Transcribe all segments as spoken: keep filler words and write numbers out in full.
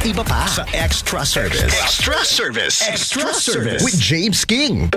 Iba pa sa Extra Service. Extra Service. Extra Service with James King.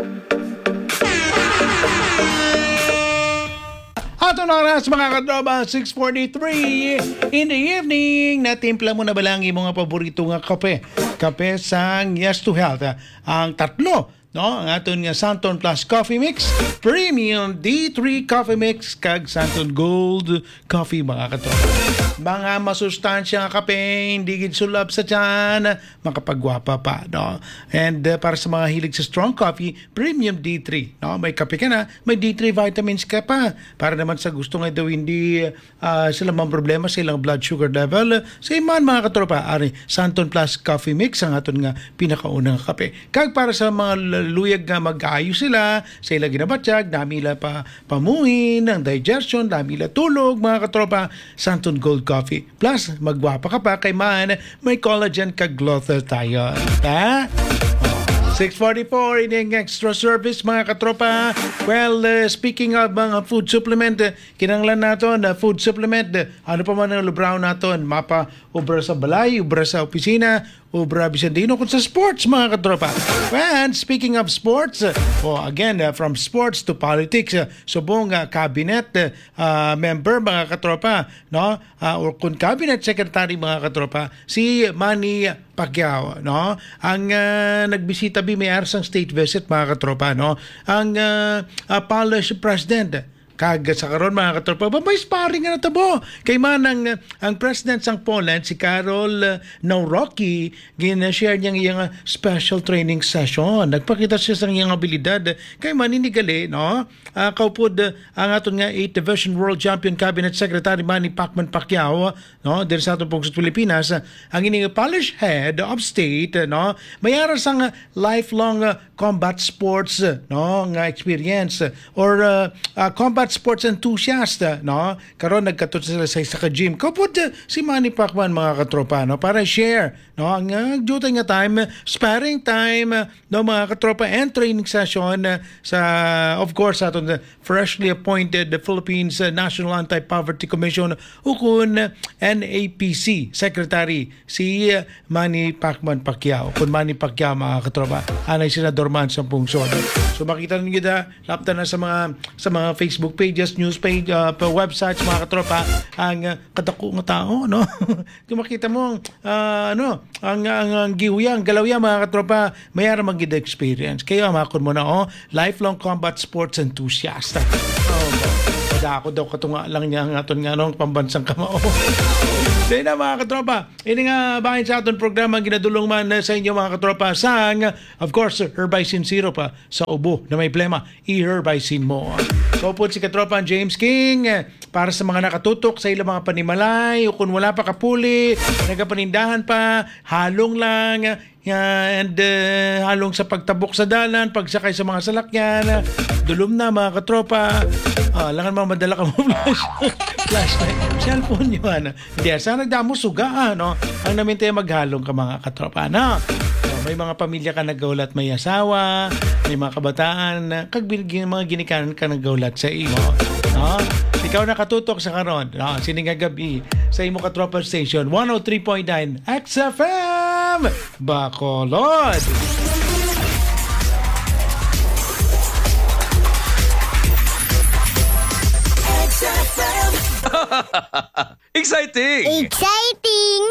Ato na oras, mga katropa, six forty-three in the evening. Natimpla mo na ba lang imong mga paborito nga kape? Kape sang Yes to Health, ah, ang tatlo, no? Ang aton nga Santon Plus Coffee Mix, Premium D three Coffee Mix, kag Santon Gold Coffee, mga katropa. Mga masustansya nga kape, hindi gid sulab sa tiyan, makapagwapa pa, no? And, uh, para sa mga hilig sa strong coffee, Premium D three, no? May kape ka na, may D three vitamins ka pa. Para naman sa gusto nga daw hindi, ah, sila man problema sa ilang blood sugar level, sa iman, mga katropa, ari, Santon Plus Coffee Mix ang aton nga pinakaunang kape. Kag para sa mga l-, luyag nga mag-ayo sila sa ilang ginabatyag, dami ila pa pamuhin, ang digestion, dami ila tulog, mga katropa, Santon Gold Coffee. Plus, magwapa ka pa kay man may collagen kag glutathione. Ha? Oh, six forty-four, ini ang extra service, mga katropa. Well, uh, speaking of mga food supplement, uh, kinahanglan naton na food supplement, uh, ano pa man ang lubraw naton, mapa obra sa balay, obra sa opisina, obra bisan diin, o kung sa sports, mga katropa. And speaking of sports, uh, oh, again, uh, from sports to politics, uh, subong, uh, cabinet, uh, uh, member, mga katropa, no? Ah, or kung cabinet secretary, mga katropa, si Manny Pacquiao, no? Ang, ah, nagbisita bi may aras ang state visit, mga katropa, no? Ang, ah, ah, Polish president. Kag sa karon, mga katropa, ba may sparring nga natabo. Kay man ang, ang president sang Poland, si Karol, ah, Nawrocki, gina-share niya ang iyang, ah, special training session. Nagpakita siya sa iyang abilidad. Kay man ini gali, no? Ah, kaupod, ah, ang aton nga eighth Division World Champion Cabinet Secretary Manny Pacman Pacquiao, no, diri sa aton pungsod Pilipinas, ah, ang ining Polish head of state, ah, no, may ara sang, ah, lifelong, ah, combat sports, ah, no, nga experience, ah, or, ah, ah, combat sports enthusiast, ah, no. Karon nagkadto sila sa isa ka gym. Kaupod, ah, si Manny Pacman, mga katropa, no, para share, no, ang, ah, dutay nga time, sparring time, ah, no, mga katropa, and training session, ah, sa, of course, sa aton, ah, freshly appointed, the Philippines, uh, National Anti-Poverty Commission, ukon N A P C Secretary, si, uh, Manny Pacman Pacquiao. Kun Manny Pacquiao, mga katropa, anay senador man sa pungsod. So, makita ninyo da, lapta na sa mga, sa mga Facebook pages, news page, uh, pa websites, mga katropa, ang, uh, kadako nga tao, no? Kung makita mo, ah, ano, ang, ang, ang gihuyang, galawya, mga katropa, may ara man gid experience. Kaya makon mo na, oh, lifelong combat sports enthusiast. Oh, madako daw katunga lang niya ang aton nga, anong pambansang kamao. Dahil na, mga katropa, ini nga bahin sa aton programa, ginadulong man, eh, sa inyo, mga katropa, sang, of course, Herbicin Syrup, ah, sa ubo na may plema, i-Herbicin mo. So, pud si katropa James King, eh, para sa mga nakatutok sa ilang mga panimalay, o kung wala pa kapuli, nagapanindahan pa, halong lang, ah, and, eh, halong sa pagtabok sa dalan, pagsakay sa mga salakyan, ah, dulom na, mga katropa. Ah, langan mga madala ka mo flash. Flashlight. Cellphone yun. Hindi, sa nagdamo, suga, ah, no? Ang namin tayo maghalong ka, mga katropa, no? So, may mga pamilya ka nagaulat, may asawa, may mga kabataan, ah, kag bin-, gin-, mga ginikanan ka nagaulat sa imo, no? Ikaw nakatutok sa karon, no? Sini nga gabi sa imo katropa station, one oh three point nine X F M, Bacolod. X F M. Exciting! Exciting!